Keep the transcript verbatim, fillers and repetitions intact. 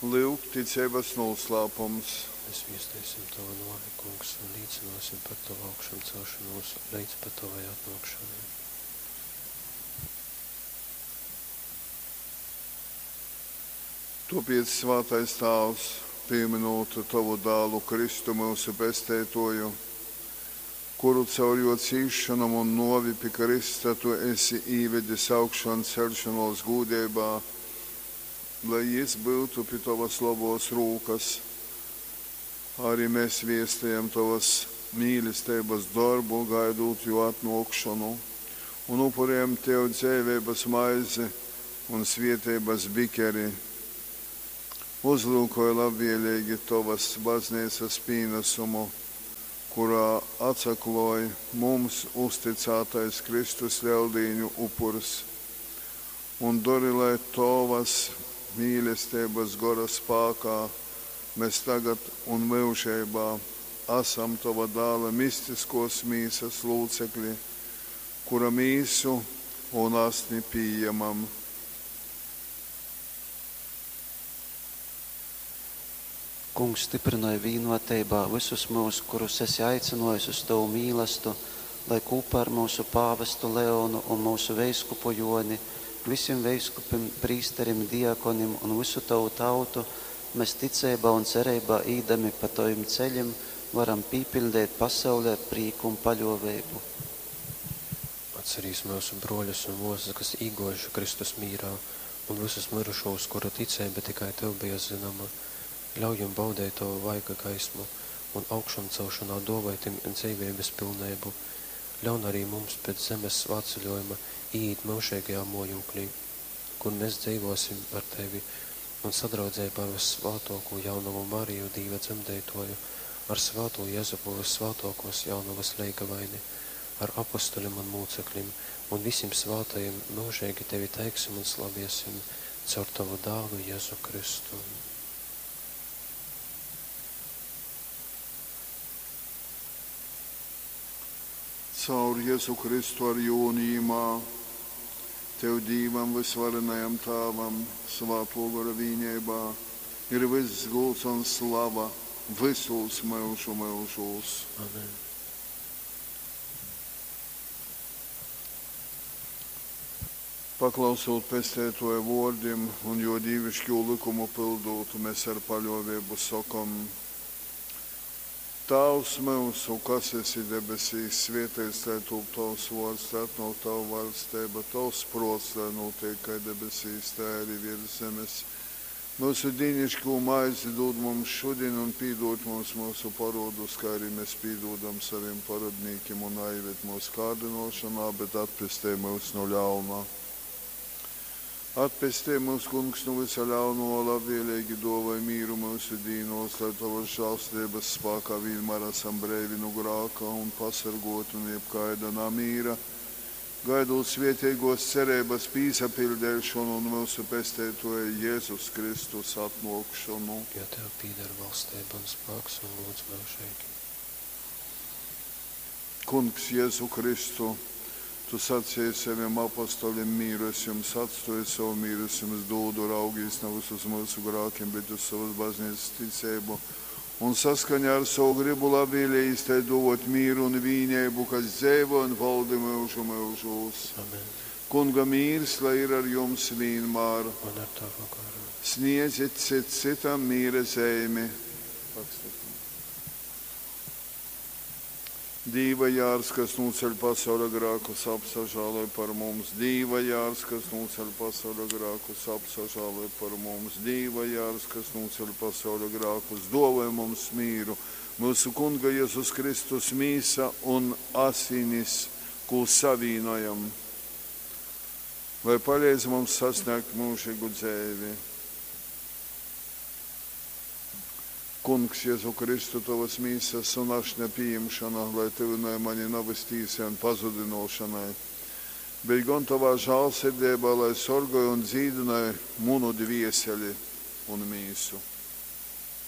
Lyuk, ticeibas nūslāpums. Mēs viesteisim Tavu nōvi, Kungs, un līcināsim par Tavu augšamcelšanos leidz pat Tavai atnōkšanai. Tōpēc, svātais Tāvs, pīmynūt Tovu Dālu Kristu myusu Pesteitōju, kuru caur jō cīsšonom un nōvi pi krysta tu esi īvedis augšanceļšonōs gūdeibā, lai jys byutu pi tovas lobōs rūkas, ari mes viestejam tovas mīlesteibas dorbu, gaidūt jō atnōkšonu, un upurejam tev dzeiveibas maizi un svieteibas bikeri. Uzlyukoj labvieleigi tovas bazneicas pīnasumu, kurā atsaklōj mums uztycātais Kristus Leldīņu upurs, un dori, lai tovas mīlesteibas Gora spākā mes tagad un myužeibā asam tova Dāla mistiskōs mīsas lūcekli, kura mīsu un asni pījamam. Kungs, styprynoj vīnoteibā vysus myus, kurus esi aicynōjis uz tovu mīlastu, lai kūpā ar myusu pāvestu Leonu un myusu veiskupu Jōni, visim veiskupim, prīsterim, diakonim un vysu tovu tautu mes ticeibā un cereibā īdami pa tovim ceļim varam pīpiļdeit pasauli ar prīku un paļōveibu. Atcerīs myusu brōļus un mōsas, kas īgōjuši Kristus mīrā, un vysus myrušūs, kuru ticeiba tikai tev beja zynoma. Ļauj jim baudeit tovu vaiga gaismu un augšamcelšanā dōvoj tim dzeiveibas pilneibu. Ļaun arī mums pēc zemes svātceļojuma īīt myužeigajā mōjūklī, kur mēs dzeivōsim ar tevi un sadraudzeibā ar vyssvātōkū jaunovu Mariju, Dīva dzemdeitōju, ar svātū Jezupu, vyssvātōkōs jaunovas leigavaini, ar apostolim un mūceklim un visim svātajim myužeigi tevi teiksim un slaviesim caur tovu dālu Jezu Kristu. Caur Jezu Kristu ar jū un jīmā, tev Dīvam vysvarenajam Tāvam, Svātō Gora vīneibā, ir vyss gūds un slava vysūs myužu myužūs. Amen. Paklausūt Pesteitōja vōrdim un jō dīviškū lykumu pyldūt, mes ar paļōveibu sokom, Tāvs myusu, kas esi debesīs, svēteits lai tūp tovs vōrds, lai atnōk tava vaļsteiba, tovs prōts, lai nūtiek kai debesīs, tai arī virs zemes. Myusu dīniškū maizi dūd mums šodien un pīdod mums myusu parodus, kā arī mēs pīdodam saviem parodnīkim, un naieved mūsu kārdinošanā, bet atpestej mūs no ļauna. Atpestej mūs, Kungs, no visa ļauno, labvēlīgi dāvāj mīru mūsu dīnos, lai tavas žēlstības spēkā vienmēr esam breivi no grāka un pasargoti no jebkaida namīra, gaidot svētīgos cerības pīsapildēšanu un mūsu pesteitoja Jēzus Kristus atnākšanu. Jo tev pīder valstība un spēks un gods mūžīgi. Kungs Jēzu Kristu, tu sacīji saviem apostoļiem, mīru es jums atstoju, savu mīru es jums dodu, raugīs nevis uz mūsu grākiem, bet uz savas baznīcas ticību. Un saskaņā ar savu gribu labvēlīgi tai dot mīru un vīnību, kas dzīvo un valdi mūžu mūžos. Amen. Kunga mīrs, lai ir ar jums vienmēr. Un ar tavu garu. Sniedziet cit citam mīra zīmi. Dīva jārs, kas nūceļ pasaules grākus, apsažāloj par mums. Dīva jārs, kas nūceļ pasaules grākus, apsažāloj par mums. Dīva jārs, kas nūceļ pasaules grākus, dāvāj mums mīru. Mūsu Kunga Jēzus Kristus mīsa un asinis, ko savīnojam, lai palīdz mums sasniegt mūžīgu dzīvi. Kungs, Jēzu Kristu, tavas mīsas un ašņa pieņemšana, lai tuvināja mani navas tīsai un pazudinošanai, bet gan tavā žālsirdībā, lai sorgoja un dzīdināja munu dvieseli un mīsu.